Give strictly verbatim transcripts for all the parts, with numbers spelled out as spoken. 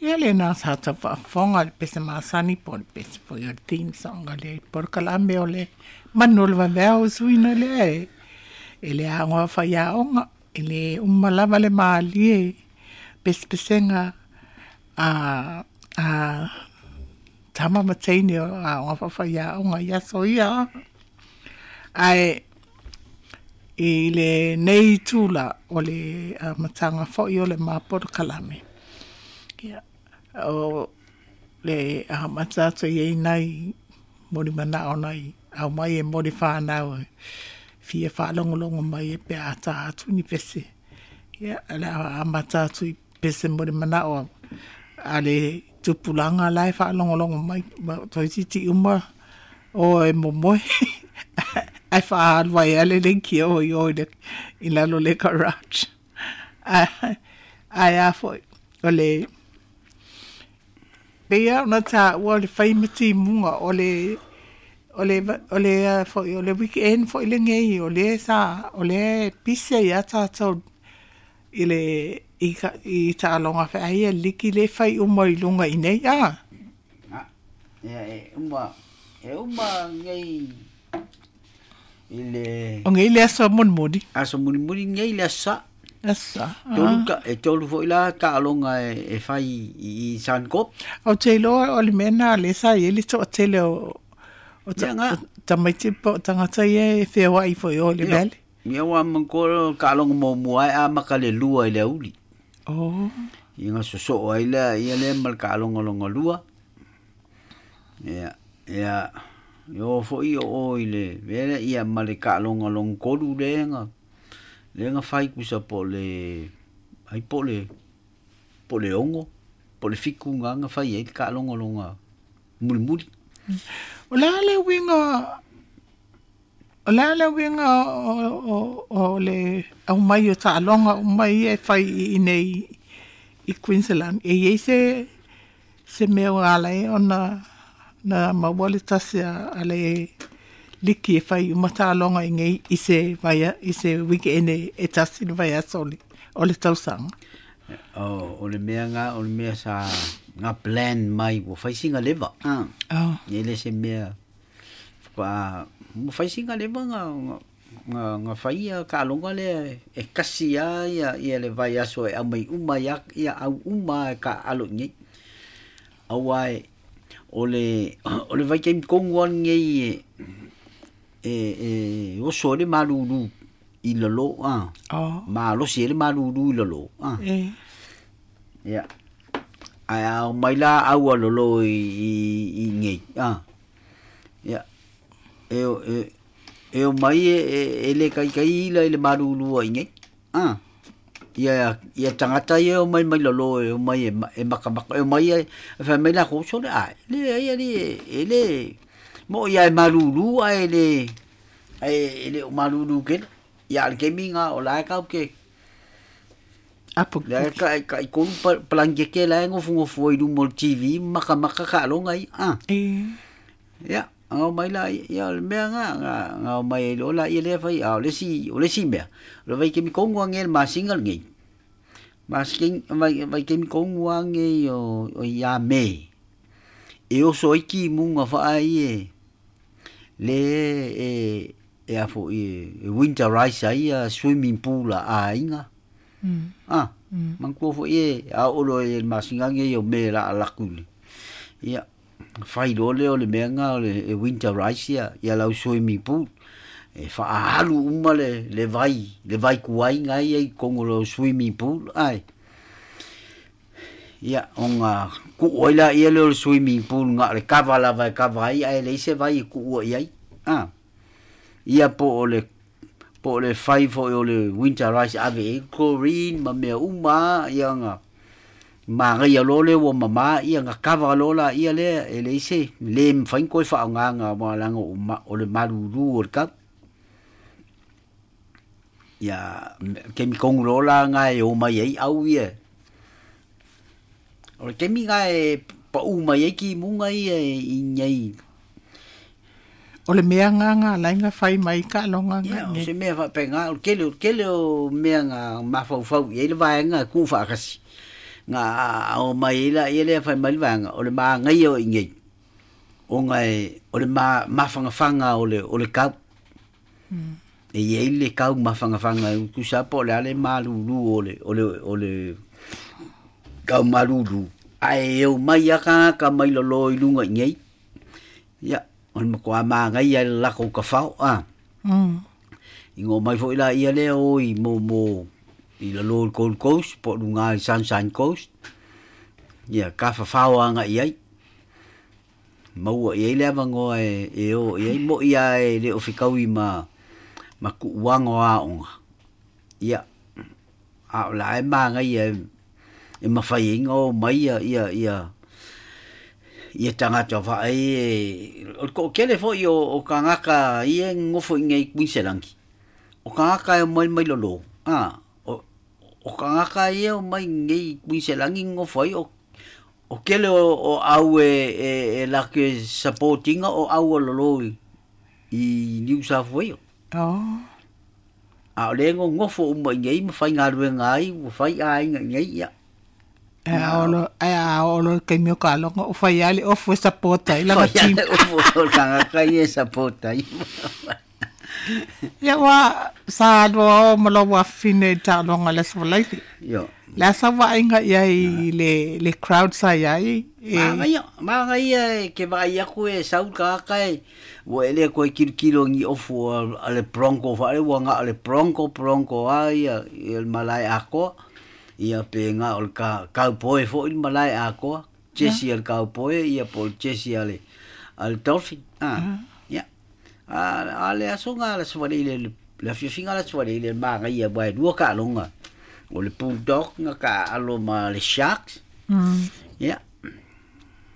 Ia lena sa tafaafofoga i le pese masani po o le pese foi o le theme song a le polokalame o le manu o le vaveao suina lea e e le aoga faiaoga e le uma lava le malie pesepesega a a tama ma teine o aoga faafaiaoga i aso ia ae i lenei itula o le amataga foi o le ma polokalame. Ia, o le amata atu i ai nai molimanao nai aumai e moli whanau e fia whaalongolongo mai e pe a tā atu ni pese. Ia, le amata atu i pese molimanao a le tupulaga la e whaalongolongo mai toeitiiti uma o e momoe ai whaalua e ale le ki o i o i le i lalo le garage. Ai a foi o le pei ona taua o le fai ma timuga o le o le o le foi o le weekend foi lenei o le sa o le pise ia tatou i le i ka i taaloga feai e liki le fai uma i luga i nei a. Ah, ia e uma e uma nei i le O nei le aso mulimuli. Aso mulimuli nei le aso Sa. Aso Sa. Tolu ka e tolu foi la taaloga e, e fai i, i Suncorp. O te iloa o le mea na le sa i ai le toatele o o ta, Ia nga. tamaiti po o tagata ia e feoai foi o le Ia. vale. Ia ua manatua taaloga muamua e amata le lua i le auli. Oh. Ia ga sosoo ai lea ia lea ma le taaloga longa lua. Ia ia e oo foi o o i le mea lea ia ma le taaloga lona tolu lea na lea na fai tusa po o le ai po o le po o le ono po o le fitu ga na fai ai le taaloga lona mulimuli. O le a le uiga o le a le uiga o o o le aumai o taaloga uma ia e fai i inei i Queensland. E iai se se mea ua ala ai ona na maua le tasi a, a le liki e fai uma taaloga i nei i se vaia i se weekend e, e tasi le vaiaso o le o le tausaga. O, o le mea nga o le mea sa nga plan mai ua fai sina leva. Ah. Oh. E le se mea fa ua fai sina leva nga nga nga, nga fai ia taaloga lea e kasi a ia ia le vaiaso e aumai uma ia ia au uma e taalo i nei. Auā e o le o le vaitaimi tonu lava lenei e e e oso ai le malūlū i lalō a. Oh. Malosi ai le malūlū i lalō a. E. Ia. Ae a omai la au a lolo i i i nei a. Ia. E e e omai e e, e le kaikai ila i le malūlū ai nei. A. Ia ia tagata ia e omai mai lalo e omai e, ma- e makamaka e omai e fai mai lakou sole a le ai ali e le mo ia e malūlū ae le ae e le o malūlū kele. Ia le taimi ga o la e kau ke Apo le ka ka i kolu pa- palangeke la e gofogofu ai luma o le T V makamaka taaloga ia a. E. Ia ga omai la ia o le mea ga ga ga omai ai loa laia lea fai a o le isi o le isi mea o le vaitaimi tonu age le masina lenei. Masina vai vaitaimi tonu age o o ia Me. E oso ai timuga faai e le e e a foi e winterize ai ia swimming pool a aiga. Mm. Ah, Mm. manatua foi e a oo loa i le masina nei o Me la laku le. Ia fai loa lea o le mea ga o le e winterize ia ia lau swimming pool. E faaalu uma le le vai le vai kuai ga ia i totonu o lau swimming pool ae. Ia ona kuu ai laia lea o le swimming pool na o le kava lava e kava ai ae leai se vai e kuua i ai. Ah. Ia po o le po o le fai foi o le winterize ave i ai chlorine ma mea uma ia ga magaia loa lea ua mamā ia ga kava loa laia lea e leai se le mafai ona toe faaaogaga aua leaga o ma, o le malūlū o le kau. Ia taimi tonu loa la ga e omai ai au ia. O le taimi ga e paʻū mai ai timuga ia i nei. O le mea nga nga ala ai ga fai mai taaloga Ia nga o nei. se mea faapegā o le tele o le tele o mea ga mafaufau i ai le vaega e tuufaatasi. Nga o mai la ia le fai mai vanga o le maagaia o i ona e o le ma mafangafanga o le o le kau. Mm. E iai le kau mafangafanga e tusa po o le a le malulu o le o le o le kau malulu. Ae e omai a tagata mai lalo i luga i nei. Ia, o le matua magaia i le lakou kafao a. Mm. I go mai foi la ia lea o i mo mo i lalo i le Gold Coast po o luga i Sunshine Coast. Ia, kafafao agaʻi ai. Maua i ai le avanoa e e o i ai moʻi a e le o fekaui ma ma kuuaga o aoga. Ia, a o la e magaia e e mafai ai ona o mai ia ia ia ia tagata vaai e o le toʻatele foi o o tagata ia e nonofo i nei Kuiniselani. O tagata e omai mai lalo, a o o tagata ia e omai nei Kuiniselani nonofo ai o o kele o o au e e e latou support ina o au o lalo i i New South Wales. Oh. A o lea e nonofo uma i nei ma faigaluega ai ua fai aiga i nei ia. E a olo e a olo le taimi o kaloga o fai lava le ofu e support ai lana Fai team. lava le ofu o le tagata ia e support ai. Ia ua sa aloa o ma lou afafine i le taaloga i le Aso Faraile. Io. Le a sau vaaiga i ai i le le crowd sa i ai e Magaia, magaia e ke vaai aku e sau le tagata e ua e le toe kilokilo i ni ofu a a le Bronco faale ua na o le Bronco Bronco lava ia ia le malae atoa. Ia pe na o le ka cowboy foi le malae atoa, jesi a le cowboy ia po o le jesi a le a le Dolphin. A ia. A a le asoga le Aso Faraile le le afiafiga o le Aso Faraile le magaia aua e lua taaloga. O le Bulldog na taaalo ma le Sharks. Mm. Ia.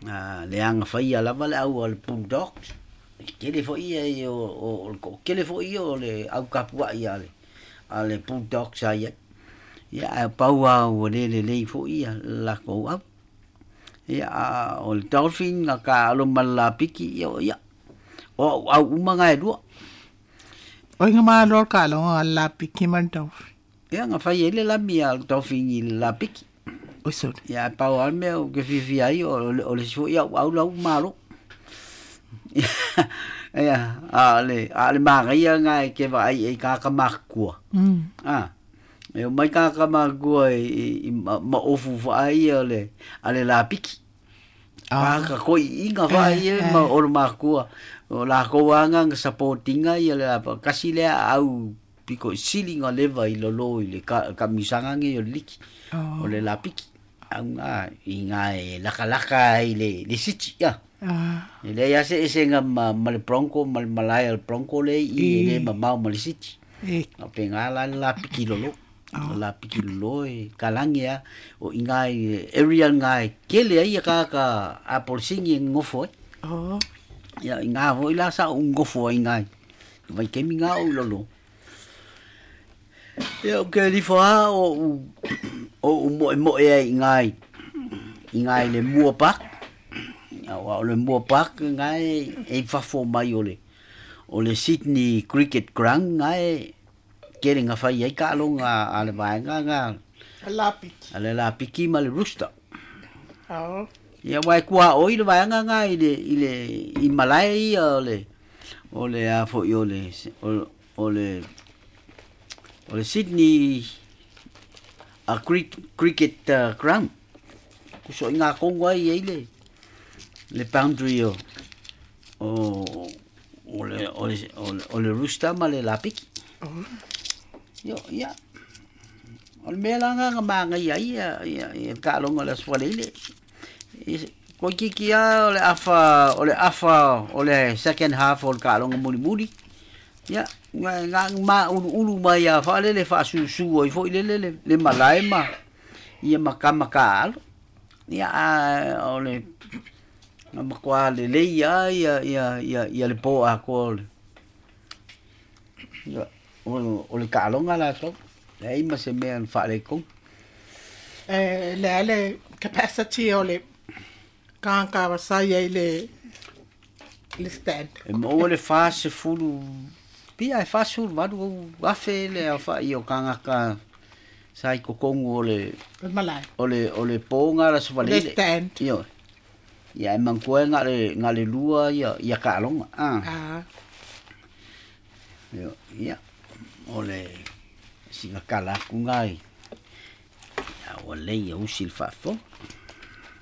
A le agafaia lava le au a le Bulldogs. E tele foi ia e o o o le toʻatele foi ia o le au tapuaʻi a le a le Bulldogs sa i ai. Ia ae pau lava ua le lelei foi ia le latou au. Ia a o le Dolphin na taaalo ma le lapiki ia o ia. O a'u au uma na e lua. O iga malo le taaloga a le lapiki ma le Dolphin. Ia na fai ai le lami a le Dolphin i le lapiki. Oi sole. Ia ae pau lava le mea ou te fiafia ai o le o le isi foi a'u au la ua malo. Ia a o le a o le magaia lena e te vaai ai i tagata matutua. Mm. A e omai tagata matutua i i i ma maofu faai ia o le a le lapiki. Ah. Tagata toeaiina faai Eh, ia ma eh. o le matua. O lakou lava na support ina ia le kasi lea au piko sili ona leva i lalo i le ka kamisaga nei o le liki. Oh. O le lapiki. Au na i ina e lakalaka ai le le siti ia. Ah. E leai lava se esega ma ma le Bronco ma le malae a le Bronco lea i i e le I mamao ma le siti. E Faapena la le lapiki lalo. Oh. O le lapiki lalo e kalagi lava o i ina i area lena e kele ai ia tagata a polisini e nonofo ai. Oh. Ia ina foi la sa ou nonofo ai iina i vaitaimi na o ou lalo. Ia ou te alifo lava o ou o ou moemoe ai iina i iina i le Moore Park. Auā o le Moore Park lena e e i fafo mai o le o le Sydney Cricket Ground lena e kele na fai ai taaloga a le vaega lena A lapiki. a le lapiki ma le Rooster. Oh. Ia aua e tuaoi le vaega lena i le i le i malae ia o le o le a foi o le o o le o le Sydney a Cricket uh, Ground. Kusoʻiga tonu ai ai le le boundary o o o le o le o le, o le Rooster ma le lapiki. Oh. Io ia. O le mea la lena na magaia ai ia ia ia le taaloga o le Aso Faraile. Toeitiiti lava o le afa o le afa o le second half o le taaloga mulimuli. Ia na na mauluulu mai lava faalele faasusu ai foi lele le le malae ma ia ma tama taaalo. Ia a o le na matua lelei lava ia ia ia ia le po atoa o le ia o o le taaloga latou. Leai ma se mea na faaletonu. E le a le capacity o le tagata sa i ai le le stand. E maua le fasefulu pia e fasefulu valu afe le aofaʻi o tagata Sa i kokongu o le O le malae. O le o le ponga la sa Le stand. Io. Ia e manatua e na le na le lua ia ia taaloga. Ah. Ah. Io, ia. O le sina kala ku ngai. Ia ua lei ia usi le faafofoga.